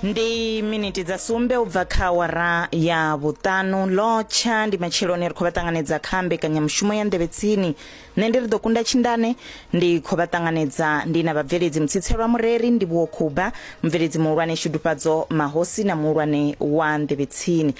Ndi miniti dza sumbe u bva kha awara ya vhuṱanu lotsha ndi matsheloni ri khou vha ṱanganedza kha mbekanyamushumo ya nḓevhe tsini nṋe ndi ri ḓo kunda tshindane ndi khou vha ṱanganedza ndi na vhabveledzi mutsitselwa mureri ndi vhuwo khuba mubveledzi muhulwane shudufhadzo mahosi na muhulwane wa nḓevhe tsini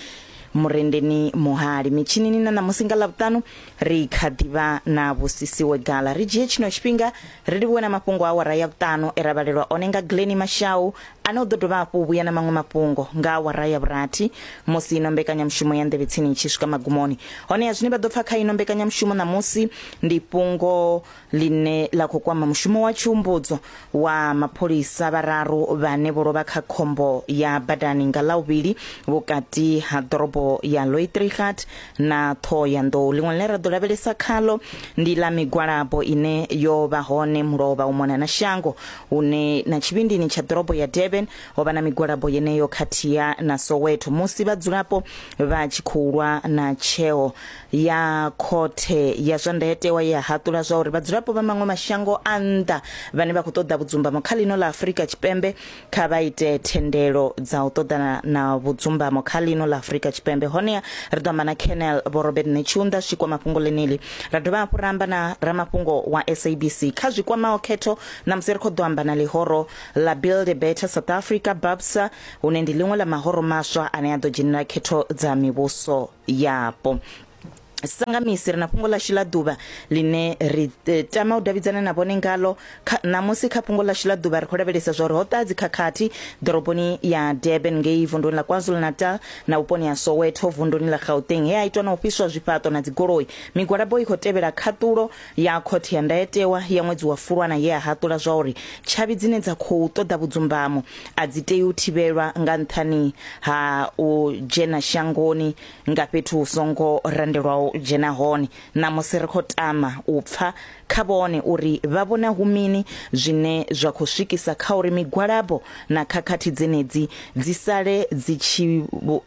murendeni muhali mitshinini na ṋamusi nga ḽavhuṱanu ri kha ḓivha na vhusisiwe gala ri dzhie tshino tshifhinga ri livhuwe na mafhungo a awara ya vhuṱanu e ra vhalelwa one nga Glennie Mashau ane u ḓo dovha hafhu u vhuya na maṅwe mafhungo nga awara ya vhurathi musi ino mbekanyamushumo ya nḓevhe tsini i tshi swika magumoni. Honeha zwine vha ḓo pfa kha ino mbekanyamushumo ṋamusi ndi fhungo ḽine ḽa khou kwama mushumo wa tshiumbudzo wa mapholisa vhararu vhane vho lovha kha khombo ya badani nga Ḽavhuvhili vhukati ha ḓorobo ya Louitrigat na Ṱhohoyanḓou. Ḽiṅwe ḽine ra ḓo lavhelesa khaḽo ndi ḽa migwalabo ine yo vha hone mulovha u mona na shango hune na tshivhindini tsha ḓorobo ya Durban ho vha na migwalabo yeneyo khathiha na Soweto musi vhadzulapo vha tshi khou lwa na tsheo ya khothe ya zwa ndayotewa ye ya haṱula zwa uri vhadzulapo vha maṅwe mashango a nnḓa vhane vha khou ṱoḓa vhudzumbamo kha ḽino ḽa Afrika Tshipembe kha vha ite thendelo dza u ṱoḓana na vhudzumbamo kha ḽino ḽa Afrika Tshipembe. Honeha ri ḓo amba na Colonel Vho Robert Netshiunda zwi tshi kwama fhungo ḽeneḽi. Ra dovha hafhu ra amba na ramafhungo wa SABC kha zwi kwamaho khetho. Ṋamusi ri khou ḓo amba na ḽihoro ḽa Build a Better South Africa, BABSA, hune ndi ḽiṅwe ḽa mahoro maswa ane a ḓo dzhenela khetho dza mivhuso yapo. Sa nga misi ri na fhungo ḽashu ḽa ḓuvha ḽine ri tama u davhidzana na vhone ngalo. Kha, ṋamusi kha fhungo ḽashu ḽa ḓuvha ri khou lavhelesa zwa uri ho ṱaha dzikhakhathi ḓoroboni ya Durban ngei vunduni ḽa KwaZulu-Natal na vhuponi ha Soweto vunduni ḽa Gauteng he ha itwa na u fhiswa zwifhaṱo na dzigoloi. Migwalabo i khou tevhela khaṱulo ya khothe ya ndayotewa ya ṅwedzi wa Fulwana ye ya haṱula zwa uri tshavhi dzine dza khou ṱoḓa vhudzumbamo a dzi tei u thivhelwa nga nṱhani ha u dzhena shangoni nga fhethu hu songo randelwaho u dzhena hone. Ṋamusi ri khou tama u pfa kha vhone uri vha vhona hu mini zwine zwa khou swikisa kha uri migwalabo na khakhathi dzenedzi dzi sale dzi tshi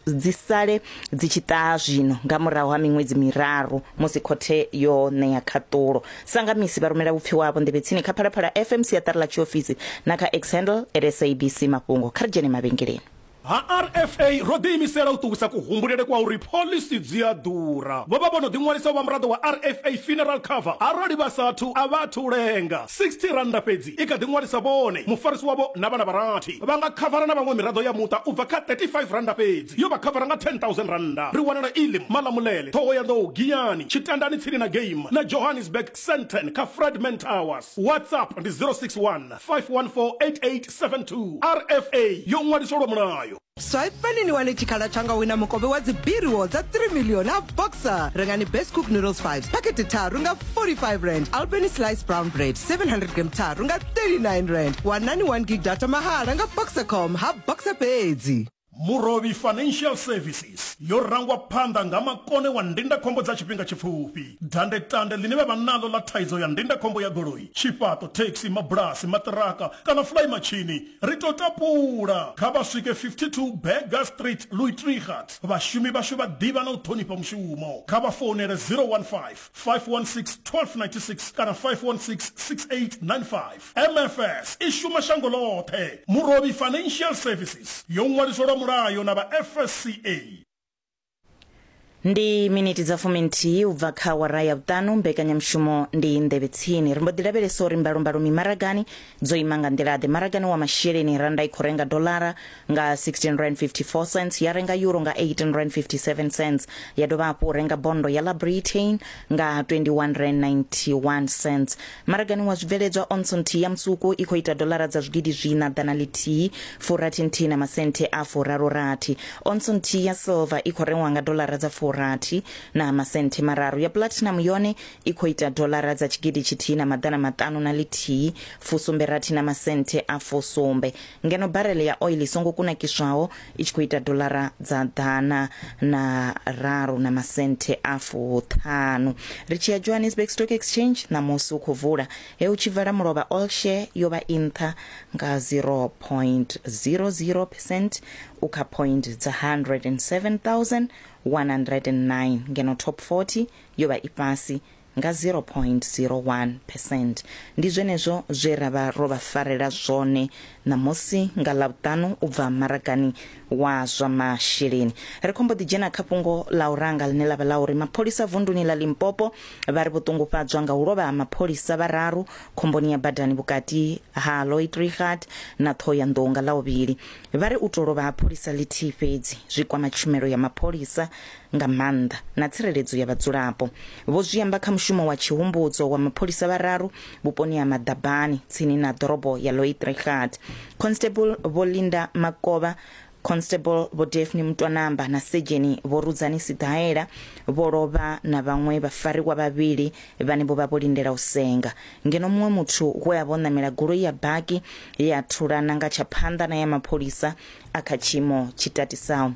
dzi sale dzi tshi ṱaha zwino nga murahu ha miṅwedzi miraru musi khothe yo ṋea khaṱulo. Sa nga misi vha rumela vhupfiwa havho nḓevhe tsini kha Phalaphala FM siaṱari ḽa tshiofisi na kha X handle at SABC Mafhungo. Kha ri dzhene mavhengeleni. Ha RFA ro ḓiimisela u ṱuwisa kuhumbulele kwa uri phoḽisi dzi a ḓura. Vho vha vho no ḓiṅwalisa u vha muraḓo wa RFA Funeral Cover. Arali vha sa athu, a vha athu lenga. R60 fhedzi i kha ḓi ṅwalisa vhone, mufarisi wavho na vhana vha rathi. Vha nga khavara na vhaṅwe miraḓo ya muṱa u bva kha R35 fhedzi, yo vha khavara nga R10,000. Ri wanala Elim, Malamulele, Ṱhohoyanḓou, Giyani, Tshitandani tsini na Game na Johannesburg, Sandton kha Fredman Towers. WhatsApp ndi 061 514 8872. RFA yo ṅwaliswa lwa mulayo. Swipani ni wane tshikhala tsha nga wina mukovhe wa dzibiriwo dza 3 million ha Boxer. Rengani Best Cook Noodles 5 phakhethe tharu nga 45 rand, Albany Slice Brown Bread 700 gram tharu nga 39 rand. Wanani 1 gig data mahala nga Boxercom ha Boxer fhedzi. Murovhi Financial Services yo rangwa phanḓa nga makone wa ndindakhombo dza tshifhinga tshipfufhi. Dandetande ḽine vha vha naḽo ḽa thaidzo ya ndindakhombo ya goloi, tshifhaṱo, thekhisi, mabulasi, maṱiraka kana fulaimatshini ri tou tapula. Kha vha swike 52 Burger Street, Louis-Trichardt. Vhashumi vhashu vha ḓivha na u ṱhonifha mushumo. Kha vha founele 015 516 1296 kana 516 6895. MFS i shuma shango ḽoṱhe. Murovhi Financial Services yo ṅwaliswa lwa mulayo na vha FSCA. Ndi miniti dza fuminthihi u bva kha awara ya vhuṱanu mbekanyamushumo ndi nḓevhe tsini. Ri mbo ḓi lavhelesa uri mbalombalo mimaragani dzo ima nga nḓila ḓe. Maragani wa masheleni randa i khou renga dolara nga 16 rand 54 cents, ya renga euro nga 18 rand 57 cents, ya dovha hafhu u renga bondo ya ḽa Britain nga 21 rand 91 cents. Maragani wa zwibveledzwa onso nthihi ya musuku i khou ita dolara dza zwigidi zwiṋa ḓana ḽithihi furathi nthihi na masenthe a furaru rathi. Onso nthihi ya silver i khou rengwa nga dolara dza furathi na masenthe mararu. Ya platinum yone i khou ita dolara dza tshigidi tshithihi na maḓana maṱanu na ḽithihi fusumbe rathi na masenthe a fusumbe. Ngeno barele ya oil i songo kunakiswaho i tshi khou ita dolara dza ḓana na raru na masenthe a fuṱhanu. Ri tshi ya Johannesburg Stock Exchange ṋamusi u khou vula he u tshi vala mulovha all share yo vha i nṱha nga 0.00 percent u kha point dza 107,109 ngeno top 40 yo vha i fhasi. nga 0.01 percent. Ndi zwenezwo zwe ra vha ro vha farela zwone ṋamusi nga Ḽavhuṱanu u bva maragani wa zwa masheleni. Ri khou mbo ḓi dzhena kha fhungo ḽa u ranga ḽine ḽa vha ḽa uri mapholisa vunduni ḽa Limpopo vha ri vho ṱungufhadzwa nga u lovha ha mapholisa vhararu khomboni ya badani vhukati ha Loitrigat na Ṱhohoyanḓou nga Ḽavhuvhili. Vha ri u tou lovha ha pholisa ḽithihi fhedzi zwi kwama tshumelo ya mapholisa nga maanḓa na tsireledzo ya vhadzulapo. Vho zwi amba kha mushumo wa tshihumbudzo wa mapholisa vhararu vhuponi ha Maḓabani tsini na ḓorobo ya Loitrigat. Constable Vho Linda Makovha, Constable Vho Daphne Mutwanamba na Sedzheni Vho Rudzani Siḓaela vho lovha na vhaṅwe vhafariwa vhavhili vhane vho vha vho lindela u senga. Ngeno muṅwe muthu we a vha o ṋamela goloi ya baki ye a thulana nga tsha phanḓa na ya mapholisa a kha tshiimo tshi tatisaho.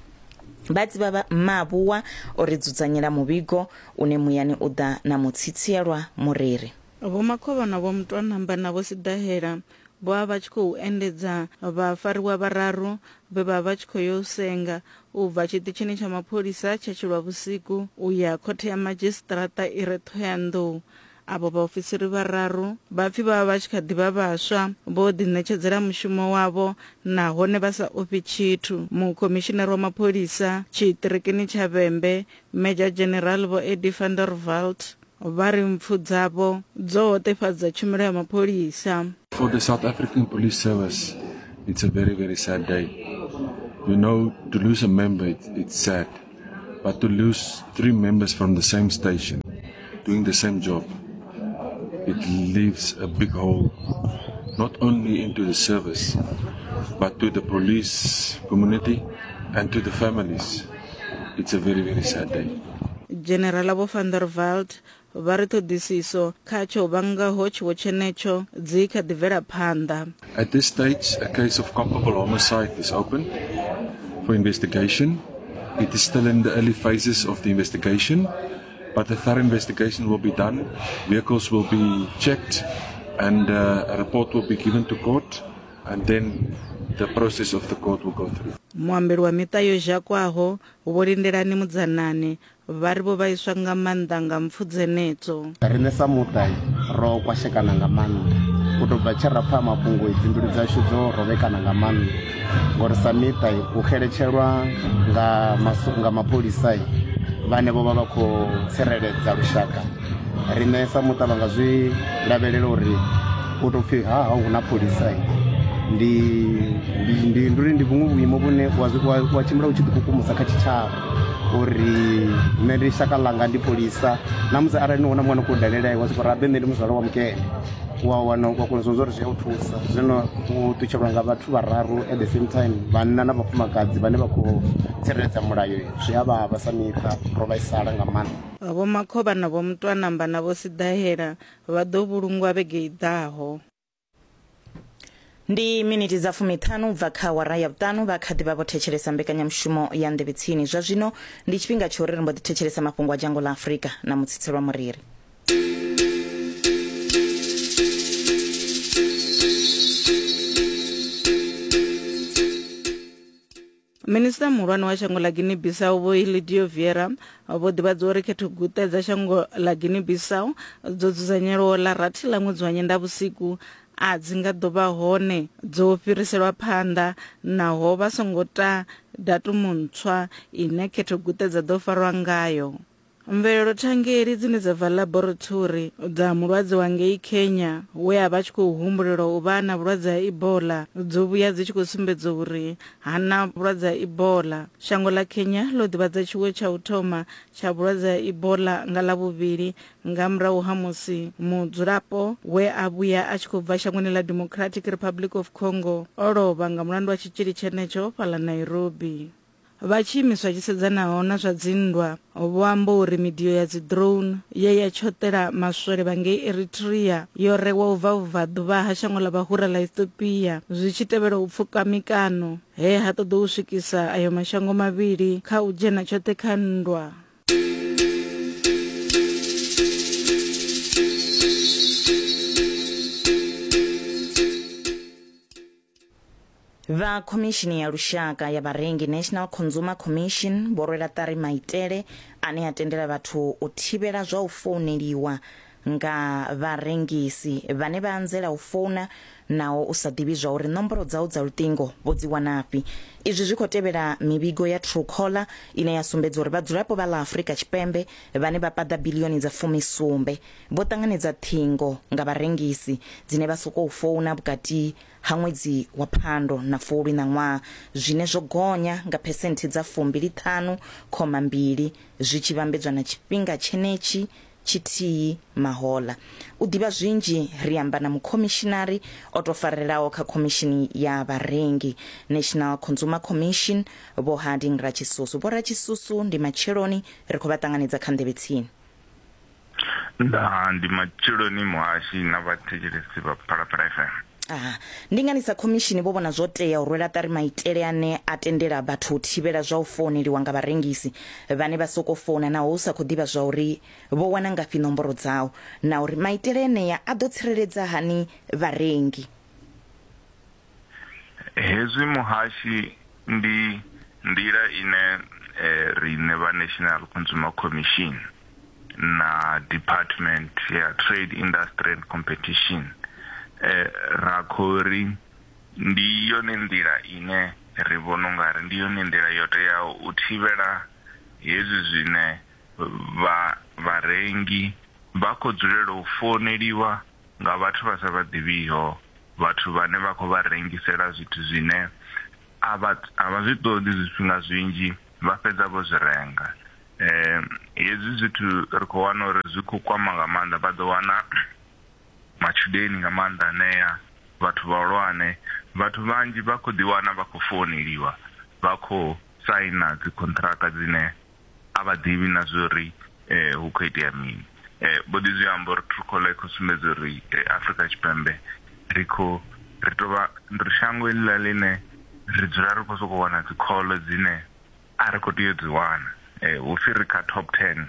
Vha dzivha Mavhuwa o ri dzudzanyela muvhigo une muyani u ḓa na mutsitsielwa mureri. Vho Makhovha na Vho Mutwanamba na Vho Siḓahela vho vha vha tshi khou endedza vhafariwa vhararu vhe vha vha tshi khou ya u senga u bva tshiṱitshini tsha mapholisa tsha Tshilwavhusiku u ya khothe ya madzhisiṱiraṱa i re Ṱhohoyanḓou. Avho vhaofisiri vhararu vha pfi vha vha vha tshi kha ḓi vha vhaswa, vho ḓiṋetshedzela mushumo wavho nahone vha sa ofhi tshithu. Mukhomishinari wa mapholisa tshiṱirikini tsha Vhembe, Major General Vho Eddie van der Walt, vha ri mpfu dzavho dzo hoṱefhadza tshumelo ya mapholisa. For the South African Police Service, it's a very, very sad day. You know, to lose a member, it's sad. But to lose 3 members from the same station, doing the same job, it leaves a big hole, not only into the service, but to the police community and to the families. It's a very, very sad day. General Vho van der Walt vha ri ṱhoḓisiso kha tsho vhangaho tshiwo tshenetsho dzi kha ḓi bvela phanḓa. At this stage, a case of culpable homicide is open for investigation. It is still in the early phases of the investigation, but a thorough investigation will be done. Vehicles will be checked and a report will be given to court, and then the process of the court will go through. Muambeli wa miṱa yo zhakwaho Vho Lindelani Mudzanani vha ri vho vhaiswa nga maanḓa nga mpfu dzenedzo. Riṋe sa muṱa ro kwashekana nga maanḓa u tou bva tshe ra pfa mafhungo, dzi mbilu dzashu dzo rovhekana nga maanḓa ngori sa miṱa u xeletshelwa nga nga mapholisa vhane vho vha vha khou tsireledza lushaka. Riṋe sa muṱa vha nga zwi lavhelela uri u tou pfhi ha ha hu na pholisa ndi ndi ndi ndi ndi vhuṅwe vhuimo vhune wa wa tshimbila u tshi ḓikukumusa kha tshitshavha uri nṋe ndi shaka ḽanga ndi pholisa na musi arali ni wana muṅwe a no khou dalela wa soko rabe nṋe ndi muzwala wa mukene wa wana wa kona zwa uri zwi a u thusa. Zwino u ṱutshelwa nga vhathu vhararu at the same time, vhanna na vhafumakadzi vhane vha khou tsireledza mulayo, zwi a vhavha sa miṱa, ro vhaisala nga maanḓa. Vho Makhovha na Vho Mutwanamba na Vho Siḓahela vha ḓo vhulungwa vhege i ḓaho. Ndi miniti dza fumiṱhanu u bva kha awara ya vhuṱanu vha kha ḓi vha vho thetshelesa mbekanyamushumo ya Nḓevhe Tsini. Zwa zwino ndi tshifhinga tsha uri ri mbo ḓi thetshelesa mafhungo a dzhango ḽa Afrika na Mutsitselwa Muriri. Minisiṱa muhulwane wa shango ḽa Guinea Bissau Vho Ilidio Vieira vho ḓivhadza uri khethoguṱe dza shango ḽa Guinea Bissau dzo dzudzanyelwaho ḽa rathi ḽa ṅwedzi wa Nyendavhusiku a dzi nga ḓo vha hone dzo fhiriselwa phanḓa naho vha songo ta datumu ntswa ine khethoguṱe dza ḓo farwa ngayo. Mvelelo thangeli dzine dza bva ḽaborithori dza mulwadze wa ngei Kenya we a vha a tshi khou humbulelwa u vha na vhulwadze ha Ebola dzo vhuya dzi tshi khou sumbedza uri ha na vhulwadze ha Ebola. Shango ḽa Kenya ḽo ḓivhadza tshiwo tsha u thoma tsha vhulwadze ha Ebola nga Ḽavhuvhili nga murahu ha musi mudzulapo we a vhuya a tshi khou bva shangoni ḽa Democratic Republic of Congo o lovha nga mulandu wa tshitzhili tshenetsho fhaḽa Nairobi. Vha tshiimiswa tshi sedzanaho na zwa dzinndwa vho amba uri midio ya dzi-drone ye ya tshoṱela maswole vha ngei Eritrea yo rewa u bva vhubvaḓuvha ha shango ḽa vhahura ḽa Ethiopia zwi tshi tevhela u pfuka mikano he ha ṱoḓou swikisa ayo mashango mavhili kha u dzhena tshoṱhe kha nndwa. Vha Khomishini ya Lushaka ya Vharengi, National Consumer Commission, vho rwela ṱari maitele ane a tendela vhathu u thivhela zwa u founeliwa nga vharengisi vhane vha anzela u founa naho u sa ḓivhi zwa uri ṋomboro dzau dza luṱingo vho dzi wanafhi. Izwi zwi khou tevhela mivhigo ya Truecaller ine ya sumbedza uri vhadzulapo vha ḽa Afrika Tshipembe vhane vha paḓa biḽioni dza fumisumbe vho ṱanganedza ṱhingo nga vharengisi dzine vha sokou founa vhukati ha ṅwedzi wa Phando na Fulwi ṋaṅwaha, zwine zwo gonya nga phesenthe dza 25.2 zwi tshi vhambedzwa na tshifhinga tshenetshi tshithihi mahoḽa. U ḓivha zwinzhi ri amba na mukhomishinari o tou farelaho kha Khomishini ya Vharengi, National Consumer Commission, Vho Harding Ratshisusu. Vho Ratshisusu, ndi matsheloni, ri khou vha ṱanganedza kha Nḓevhe Tsini. Ndaa, ndi matsheloni muhashi na vhathetshelesi vha Phalaphala FM. Aha. Ndi ngani sa khomishini vho vhona zwo tea u rwela ṱari maitele ane a tendela vhathu u thivhela zwa u founeliwa nga vharengisi vhane vha sokou founa naho u sa khou ḓivha zwa uri vho wana ngafhi nomboro dzau na uri maitele enea a ḓo tsireledza hani vharengi? Hezwi muhashi ndi nḓila ine riṋe vha National Consumer Commission na Department ya Trade, Industry and Competition ra khou ri ndi yone nḓila ine ri vhona ungari ndi yone nḓila yo teaho u thivhela hezwi zwine vha vharengi vha khou dzulela u founeliwa nga vhathu vha sa vha ḓivhiho, vhathu vhane vha khou vha rengisela zwithu zwine a vha a vha zwi ṱoḓi zwifhinga zwinzhi vha fhedza vho zwi renga. Hezwi zwithu ri khou wana uri zwi khou kwama nga maanḓa, vha ḓo wana matshudeni nga maanḓa anea, vhathu vhahulwane, vhathu vhanzhi vha khou ḓi wana vha khou founeliwa vha khou saina dzi contract dzine a vha ḓivhi na zwa uri hu khou itea mini. Vho ḓi zwi amba uri Truecaller i khou sumbedza uri Afrika Tshipembe ri khou ri tou vha ri shango heḽiḽa ḽine ri dzula ri khou sokou wana dzi call dzine a ri khou tea u dzi wana. Hu pfi ri kha top 10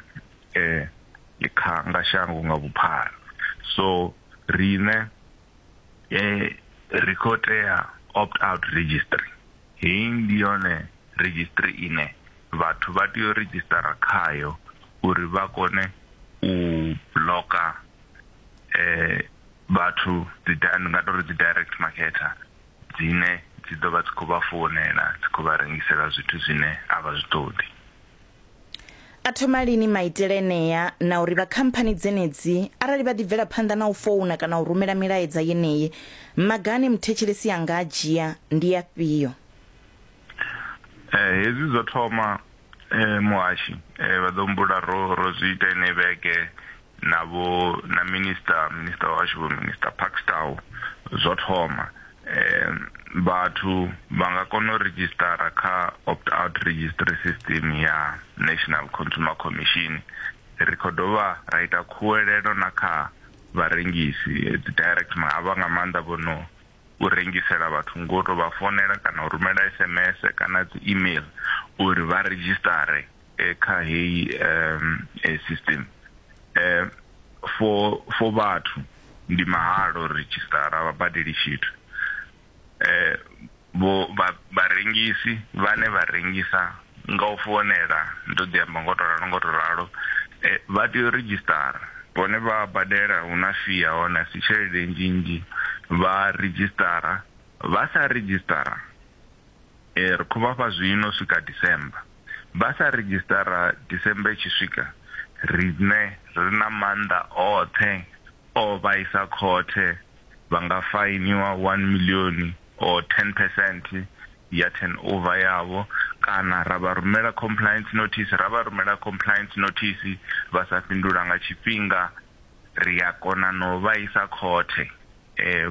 kha nga shango nga vhuphara. So riṋe ri khou tea opt out registry. Heyi ndi yone redzhisiṱiri ine vhathu vha tea u redzhisiṱara khayo uri vha kone u bloka vhathu dzi ndi nga tori dzi direct marketer dzine dzi ḓo vha dzi khou vha founela dzi khou vha rengisela zwithu zwine a vha zwi ṱoḓi. A thoma lini maitele enea na uri vha khamphani dzenedzi arali vha ḓi bvela phanḓa na u founa kana u rumela milaedza yeneyi, maga ane muthetshelesi a nga a dzhia ndi afhio? Hezwi zwo thoma muhashi vha ḓo humbula ro ro zwi ita ine vhege na vho na minister minister washu vho minister Parks Tau zwo thoma vhathu vha nga kona u redzhisitara kha opt out registry system ya National Consumer Commission. Ri khou dovha ra ita khuwelelo na kha vharengisi dzi direct havha nga maanḓa vho no u rengisela vhathu ngo to vha founela kana u rumela SMS kana dzi email uri vha redzhisitare kha heyi system. For for vhathu ndi mahala u redzhisitara vha badeli tshithu. Vho vharengisi vhane vha rengisa nga u founela ndo ḓi amba ngo to ralo ngo to ralo vha tea u redzhisitara vhone vha badela hu na fee ya hone a si tshelede nnzhi nnzhi vha redzhisitara vha sa redzhisitara ri khou vha fha zwino swika December vha sa redzhisitara December i tshi swika riṋe ri na maanḓa oṱhe o vha isa khothe vha nga fainiwa 1 million or 10 percent ya turnover yavho kana ra vha rumela compliance notice ra vha rumela compliance notice vha sa fhindula nga tshifhinga ri a kona no vha isa khothe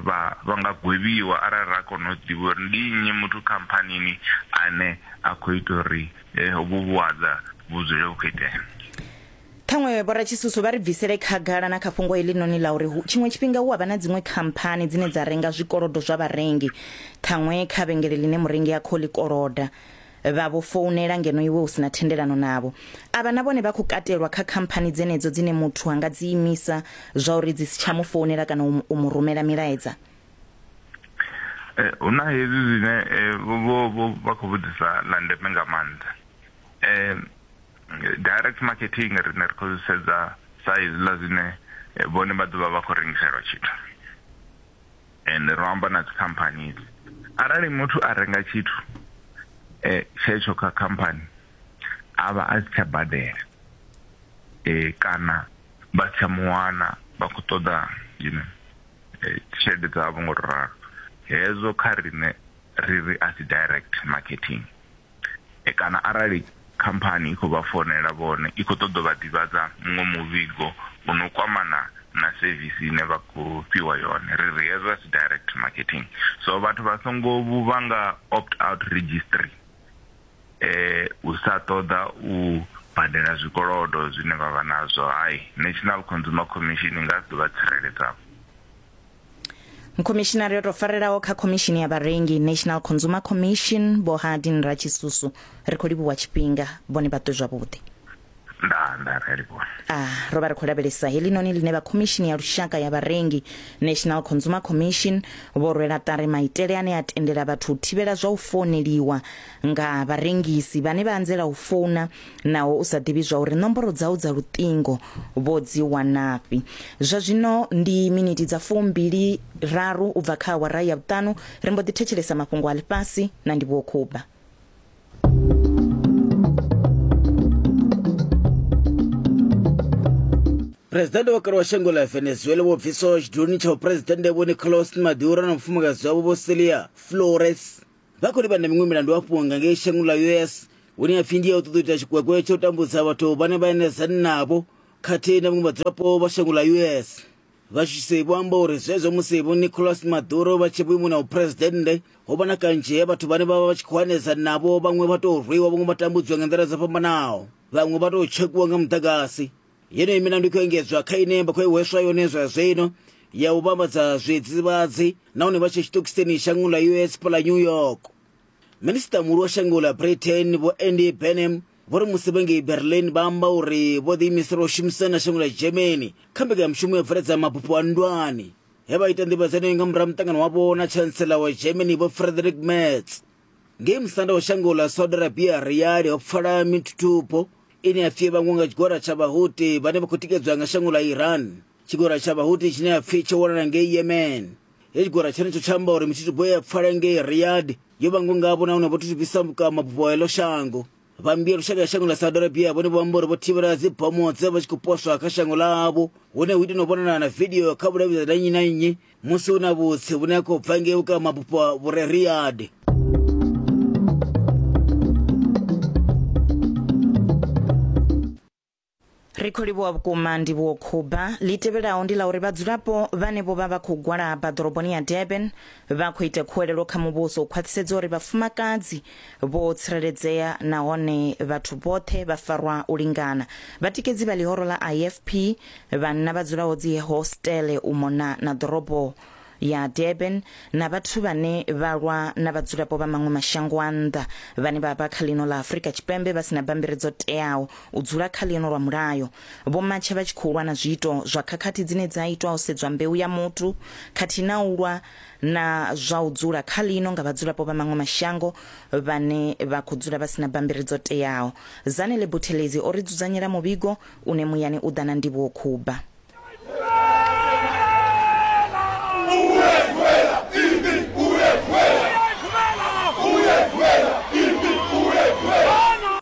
vha vha nga gwevhiwa arali ra kona u ḓivha uri ndi nnyi muthu khamphanini ane a khou ita uri hovhu vhuaḓa vhu dzule vhu khou itea. Ṱhaṅwe vhoratshisusu vha ri bvisele khagala na kha fhungo heḽinoni ḽa uri tshiṅwe tshifhinga hu a vha na dziṅwe khamphani dzine dza renga zwikolodo zwa vharengi, ṱhaṅwe kha vhengele ḽine murengi a khou ḽi koloda vha vho founela ngeno iwe u si na thendelano navho. Avha na vhone vha khou katelwa kha khamphani dzenedzo dzine muthu a nga dzi imisa zwa uri dzi si tsha mu founela kana u mu rumela milaedza? Eh, hu na hezwi zwine eh, vho vho vha khou vhudzisa ḽa ndeme nga maanḓa eh, direct marketing rine ri khou zwi sedza sa hezwiḽa zwine eh, vhone vha ḓo vha vha khou rengiselwa tshithu and ro amba na dzikhamphani idzi arali muthu a renga tshithu eh, tshetsho kha khamphani a vha a si tsha badela eh, kana vha si tsha muwana vha khou ṱoḓa you know, eh, tshelede dzavho ngo to ralo hezwo kha riṋe ri ri a si direct marketing e kana arali khamphani i khou vha founela vhone i khou ṱoḓa vha ḓivhadza muṅwe muvhigo u no kwamana na sevisi ine vha khou fhiwa yone ri ri hezwo a si direct marketing so vhathu vha songo vhuvha nga opt out registry eh u sa ṱoḓa u badela zwikolodo zwine vha vha nazwo hai National Consumer Commission i nga si ḓo vha tsireledza. Mukhomishinari o tou farelaho kha khomishini ya vharengi National Consumer Commission Vho Hardin Ratshisusu ri khou livhuwa tshifhinga vhone vha ṱwe zwavhuḓi. Ndaa ndaa ri a livhuwa. A ro vha ri khou lavhelesa heḽinoni ḽine vha Khomishini ya Lushaka ya Vharengi, National Consumer Commission, vho rwela ṱari maitele ane a tendela vhathu u thivhela zwa u founeliwa nga vharengisi vhane vha anzela u founa naho u sa ḓivhi zwa uri ṋomboro dzau dza luṱingo vho dzi wanafhi. Zwa zwino ndi miniti dza fumbili raru u bva kha awara ya vhuṱanu ri mbo ḓi thetshelesa mafhungo a ḽifhasi na Ndivhuwo Khuba. Presidennde wa kale wa shango ḽa Venezuela vho bviswaho tshiduloni tsha vhuphuresidennde Vho Nicolas Maduro na mufumakadzi wavho Vho Celia Flores vha khou livhana na miṅwe milandu hafhu nga ngei shangoni ḽa US hune ha pfi ndi ya u ṱoḓa u ita tshikwekwe tsha u tambudza vhathu vhane vha enedzana navho khathihi na vhaṅwe vhadzulapo vha shango ḽa US. Vhashushe vho amba uri zwezwo musi Vho Nicolas Maduro vha tshi vhuimoni ha vhuphuresidennde ho vha na kanzhi he vhathu vhane vha vha vha tshi khou hanedza navho vhaṅwe vha tou rwiwa vhaṅwe vha tambudziwa nga nḓila dzo fhambanaho vhaṅwe vha tou tshekwiwa nga muḓagasi. Yeneyi milandu i khou engedzwa kha ine vha khou i hweswa yone zwa zwino ya u vhambadza zwidzidzivhadzi nahone vha tshe tshiṱokisini shangoni ḽa US fhaḽa New York. Minisiṱa muhulu wa shango ḽa Britain Vho Andy Burnham vho ri musi vhe ngei Berlin vha amba uri vho ḓiimisela u shumisana na shango ḽa Germany kha mbekanyamushumo ya bveledza mabufho a nndwani he vha ita nḓivhadzo yeneyo nga murahu ha muṱangano wavho na Chancellor wa Germany Vho Friedrich Merz. Ngei musanda wa shango ḽa Saudi Arabia Riyadh ho pfala mithuthubo ine ya pfi vhangwa nga tshigwada tsha Vhahuti vhane vha khou tikedzwa nga shango ḽa Iran. Tshigwada tsha Vhahuti tshine ya pfi tsho wanala ngei Yemen. He tshigwada tshenetsho tsha amba uri mithuthubo ye ya pfala ngei Riyadh yo vhangwa ngavho nahone vho thuthubisa mabufho a heḽo shango. Vha mmbi ya lushaka ya shango ḽa Saudi Arabia vhone vho amba uri vho thivhela dzibomo dze vha tshi khou poswa kha shango ḽavho hune hu ita na u vhonala na vidio kha vhudavhidzani ha nnyi na nnyi musi hu na vhutsi vhune ha khou bva ngei vhukati ha mabufho vhu re Riyadh. Ri khou livhuwa vhukuma Ndivhuwo Khuba. Ḽi tevhelaho ndi ḽa uri vhadzulapo vhane vho vha vha khou gwalaba ḓoroboni ya Durban vha khou ita khuwelelo kha muvhuso u khwaṱhisedza uri vhafumakadzi vho tsireledzea nahone vhathu vhoṱhe vha farwa u lingana. Vhatikedzi vha ḽihoro ḽa IFP, vhanna vha dzulaho dzi hostele u mona na ḓorobo ya Durban na vhathu vhane vha lwa na vhadzulapo vha maṅwe mashango a nnḓa vhane vha vha kha ḽino ḽa Afrika Tshipembe vha si na bammbiri dzo teaho u dzula kha ḽino lwa mulayo. Vho matsha vha tshi khou lwa na zwiito zwa khakhathi dzine dza itwa ho sedzwa mbeu ya muthu khathihi na u lwa na zwa u dzula kha ḽino nga vhadzulapo vha maṅwe mashango vhane vha khou dzula vha si na bammbiri dzo teaho. Zanele Buthelezi o ri dzudzanyela muvhigo une muyani u ḓa na Ndivhuwo Khuba.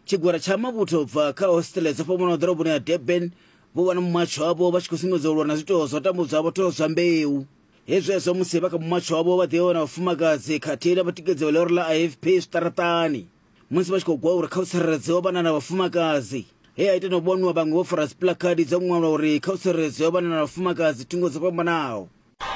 Tshigwada tsha mavhuthu u bva kha hostele dzo fhambanaho ḓoroboni ya Durban vho vha na mumatsho wavho vha tshi khou sumbedza u lwa na zwiito zwa u tambudzwa ha vhathu zwa mbeu. Hezwi hezwo musi vha kha mumatsho wavho vha ḓivha na vhafumakadzi khathihi na vhatikedzi vha ḽihoro ḽa IFP zwiṱaraṱani. Musi vha tshi khou gwa uri kha hu tsireledziwe vhana na vhafumakadzi, he ha ita na u vhonwa vhaṅwe vho fara dzipuḽakhadi dzo ṅwalwa uri kha hu tsireledziwe vhana na vhafumakadzi thungo dzo fhambanaho.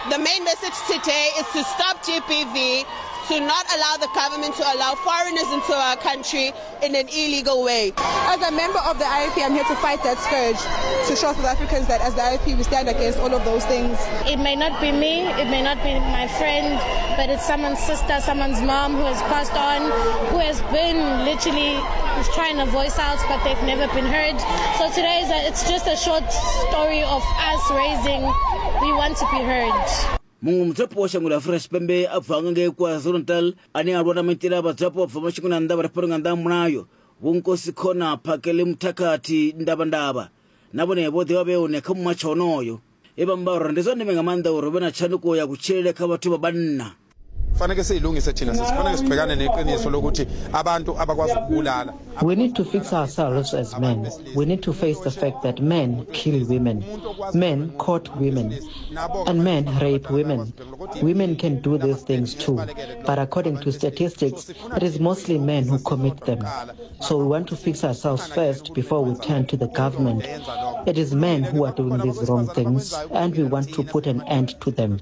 The main message today is to stop GBV, to not allow the government to allow foreigners into our country in an illegal way. As a member of the IFP, I'm here to fight that scourge, to show South Africans that as the IFP we stand against all of those things. It may not be me, it may not be my friend, but it's someone's sister, someone's mom who has passed on, who has been literally trying to voice out, but they've never been heard. So today is a, it's just a short story of us raising, we want to be heard. Muṅwe mudzulapo wa shango ḽa Afrika Tshipembe a bvaho nga ngei KwaZulu-Natal ane a lwa na maitele a vhadzulapo vha bva mashangoni a nnḓa vha re fhano nga nnḓa ha mulayo, Vho Nkosikhona Phakelimthakathi Ndavhandavha, na vhone vho ḓi vha vhe hone kha mumatsho wonoyo. E vha amba uri ndi zwa ndeme nga maanḓa uri hu vhe na tshanduko ya kutshilele kha vhathu vha vhanna. Kufanele siyilungise thina sisi, kufanele sibhekane neqiniso lokuthi abantu abakwazi ukubulala. We need to fix ourselves as men. We need to face the fact that men kill women, men court women, and men rape women. Women can do these things too, but according to statistics, it is mostly men who commit them. So we want to fix ourselves first before we turn to the government. It is men who are doing these wrong things, and we want to put an end to them.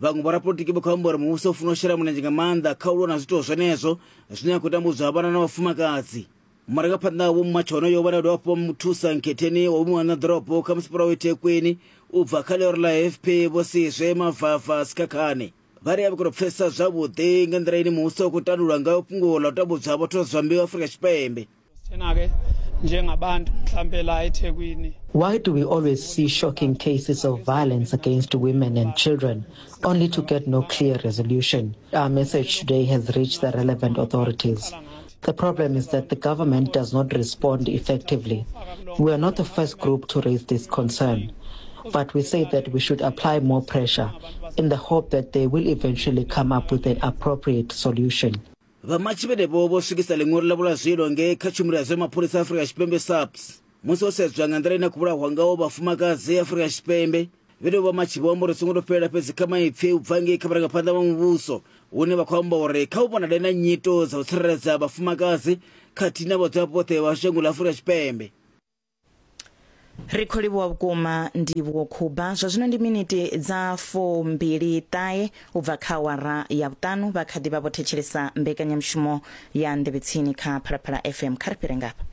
Vhaṅwe vhorapolitiki vha khou amba uri muvhuso u funa u shela mulenzhe nga maanḓa kha u lwa na zwiito zwenezwo zwine ya khou tambudzwa vhana na vhafumakadzi. Murangaphanḓa Vho Mmatsho onoyo vha dovha hafhu vha muthusa nkhetheni wa vhuimo ha nṋa ḓorobo kha masipala wa eThekwini u bva kha ḽihoro ḽa AFP Vho Sizwe Mavafa Sikhakhane vha ri a vha khou tou pfesesa zwavhuḓi nga nḓila ine muvhuso u khou tandulula ngayo fhungo ḽa u tambudzwa ha vhathu vha zwa mbeu Afrika Tshipembe. Thina-ke njengabantu mhlampe la eThekwini Why do we always see shocking cases of violence against women and children, only to get no clear resolution? Our message today has reached the relevant authorities. The problem is that the government does not respond effectively. We are not the first group to raise this concern, but we say that we should apply more pressure in the hope that they will eventually come up with an appropriate solution. Vhamatshi vhenevho vho swikisa ḽiṅwalo ḽavho ḽa zwilo ngei kha tshumelo ya zwa mapholisa a Afrika Tshipembe SAPS. Musi ho sedzwa nga nḓila ine khou vhulahwa ngaho vhafumakadzi Afrika Tshipembe, vhenevho vhamatshi vho amba uri songo tou fhelela fhedzi kha maipfi u bva ngei kha vharangaphanḓa vha muvhuso hune vha khou amba uri kha hu vhonale na nyito dza u tsireledza vhafumakadzi khathihi na vhadzulapo vhoṱhe vha shango ḽa Afrika Tshipembe. Ri khou livhuwa vhukuma Ndivhuwo Khuba. Zwa zwino ndi miniti dza 29 u bva kha awara ya vhuṱanu. Vha kha ḓi vha vho thetshelesa mbekanyamushumo ya Nḓevhe Tsini kha Phalaphala FM. Kha ri fhire ngafha.